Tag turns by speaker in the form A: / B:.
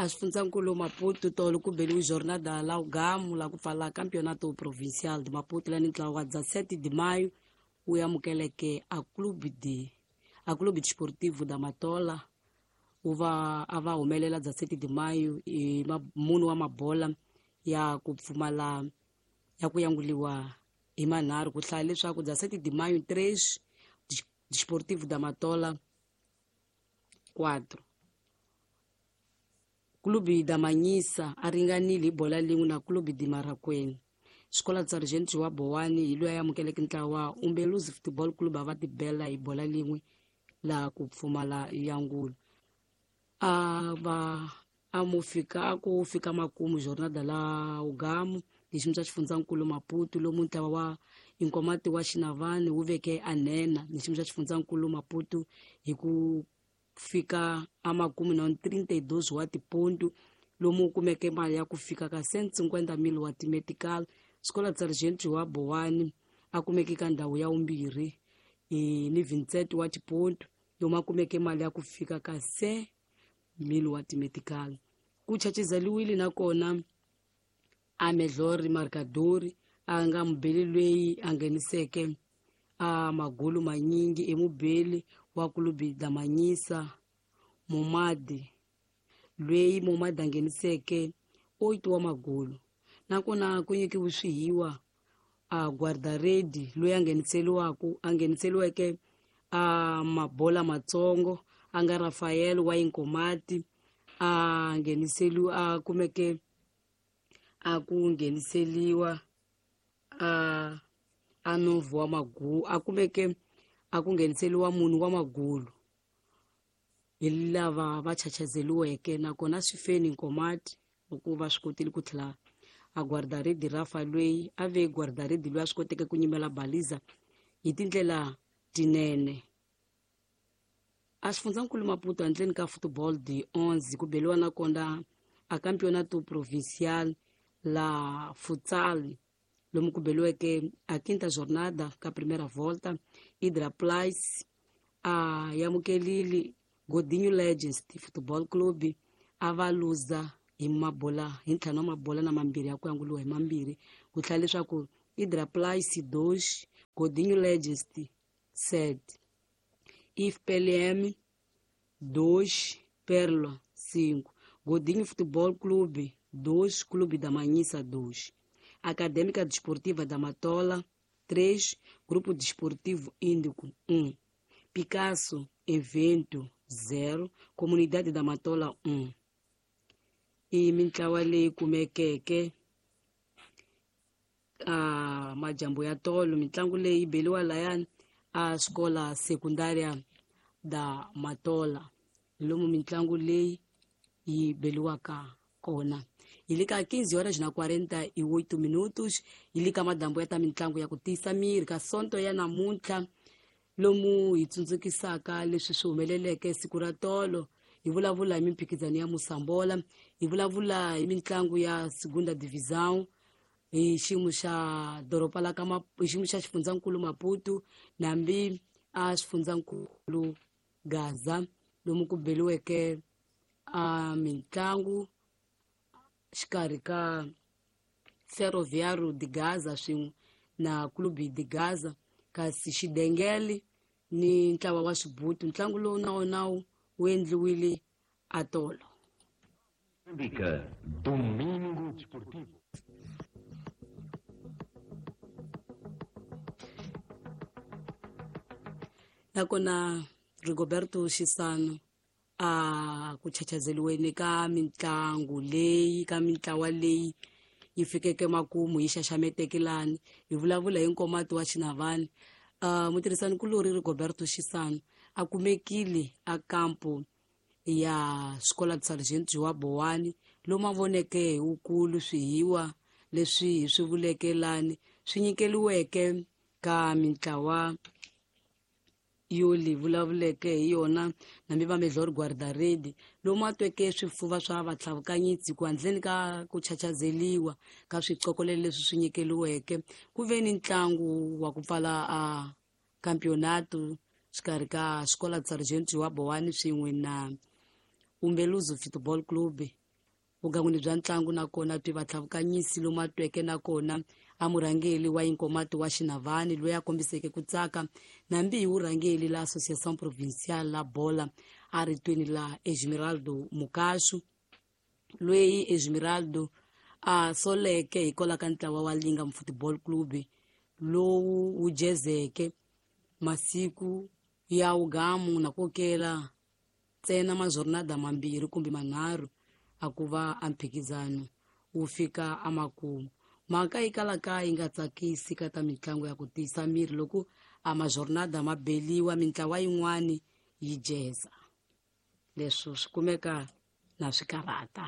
A: A xifundzankulu Maputo tolo ku beliwe jornada la ugamu la ku pfala Campeonato Provincial de Maputo lani ntlawa wa 17 de maio wu amukeleke a Clube de a Clube Desportivo da Matola wu va a va humelela 17 de maio i munhu wa mabola ya ku pfumala ya ku yanguliwa hi manharhu ku hlaya leswaku 17 de maio 3 Desportivo da Matola 4. Clube da Manhisa a ringanile hi bola lin'we na Clube de Marracuene. Xikola Sargent wa Bowani hi loyi a amukeleke ntlawa Umbeluzi Football Club a va tibela hi bola lin'we laha ku pfumala yangulo. A va a mu fika a ku fika makumu jornada la ugamu hi xiyimo xa xifundzankulu Maputo lomu ntlawa wa Inkomati wa Xinavani wu veke a nhenha hi xiyimo xa xifundzankulu Maputo hi ku fika a makumu na 32 wa tipontu lomu wu kumeke mali ya ku fika ka 150,000 wa timetical. Xikola Sargent wa Bowani a kumeke ka ndhawu ya vumbirhi ni Vincent wa tipontu lomu a kumeke mali ya ku fika ka 100,000 wa timetical. Ku chachizeliwile nakona a Melhor Marcador a nga mubeli loyi a ngheniseke a magulu manyingi emubeli wa Clube da Manhisa Momadi loyi Momadi a ngheniseke 8 wa magulu. Nakona ku nyikiwe swihiwa a guardaredi loyi a ngheniseliweke a mabola matsongo a nga Rafael wa Inkomati a ngheniseliwa a kumeke a ku ngheniseliwa a novu wa magulu a kumeke a ku ngheniseliwa munhu wa magulu hi lava va chachazeliweke. Nakona swi feni Nkomati loko va swi kotile ku tlhela a guardaredi Rafa loyi a ve guardaredi loyi a swi koteke ku nyimela baliza hi tindlela tinene. A xifundzankulu Maputo handleni ka football de 11 ku beliwa nakona a Campeonato Provincial la futsal lomu ku beliweke a quinta jornada ka primeira volta. Hidra Place a yamukelile Godinho Legends Football Club a va luza hi mabola hi ntlhanu wa mabola na mambirhi ya ku yanguliwa hi mambirhi ku tlhela leswaku Hidra Place 2 Godinho Legends 7, IFPLM 2 Perla 5, Godinho Futebol Clube 2 Clube da Manhisa 2, Acadêmica Desportiva da Matola 3 Grupo Desportivo Índico 1, Picasso Evento 0 Comunidade da Matola 1. I mintlawa leyi kumekeke a majambo ya tolo mitlangu leyi beliwa layani a xikola sekundaria da Matola lomu mitlangu leyi yi beliwaka kona. Hi le ka 15 horas na 48 minutos hi le ka madambo ya ta mitlangu ya ku tiyisa miri ka sonto ya namuntlha lomu hi tsundzukisaka leswi swi humeleleke siku ra tolo. Hi vulavula hi mimphikizano ya Mosambola, hi vulavula hi mitlangu ya Segunda Divisão hi xiyimo xa doroba la ka hi xiyimo xa xifundzankulu Maputo nambi a xifundzankulu Gaza lomu ku beliweke a mitlangu xikarhi ka Ferroviário de Gaza swin'we na Clube de Gaza kasi Xidengele ni ntlawa wa Xibutu. Ntlangu lowu na wona wu endliwile atolo.
B: Domingo Desportivo.
A: Nakona Rigoberto Xisano a ku chachazeliweni ka mitlangu leyi ka mitlawa leyi yi fikeke makumu yi xaxameteke lani hi vulavula hi Nkomati wa Xinavani. Mutirhisani kulori Rigoberto Xisano a kumekile a kampo ya Escola de Sargento wa Bowani lomu a voneke hi wukulu swihiwa leswi hi swi vuleke lani swi nyikeliweke ka mitlawa yo li vulavuleke hi yona nambi va Melhor Guardaredi lomu a tweke swifuva swa vatlhavukanyitsi ku handleni ka ku chachazeliwa ka swiqokolelo leswi swi nyikeliweke ku ve ni ntlangu wa ku pfala a campeonato xikarhi ka Escola de Sargento wa Bowani swin'we na Umbeluzo Football Club. Vugangwini bya ntlangu nakona twi vatlhavukanyisi lomu a tweke nakona a murhangeli wa inkomati wa Xinavani loyi a kombiseke ku tsaka nambi hi vurhangeli la Associação Provincial la Bola a ritweni la Esmeraldo Mukashu, loyi Esmeraldo a soleke hikwalaho ka ntlawa wa Lingam Football Club lowu wu jezeke masiku ya wugamu na kokela ntsena majornada mambirhi kumbe manharhu a ku va a mphikizano wu fika emakumu. Mhaka yi kalaka yi nga tsakisi ka ta mitlangu ya ku tiyisa miri loko a majornada ma beliwa mintlawa yin'wani yi jeza. Leswo swi kumeka na swikarata.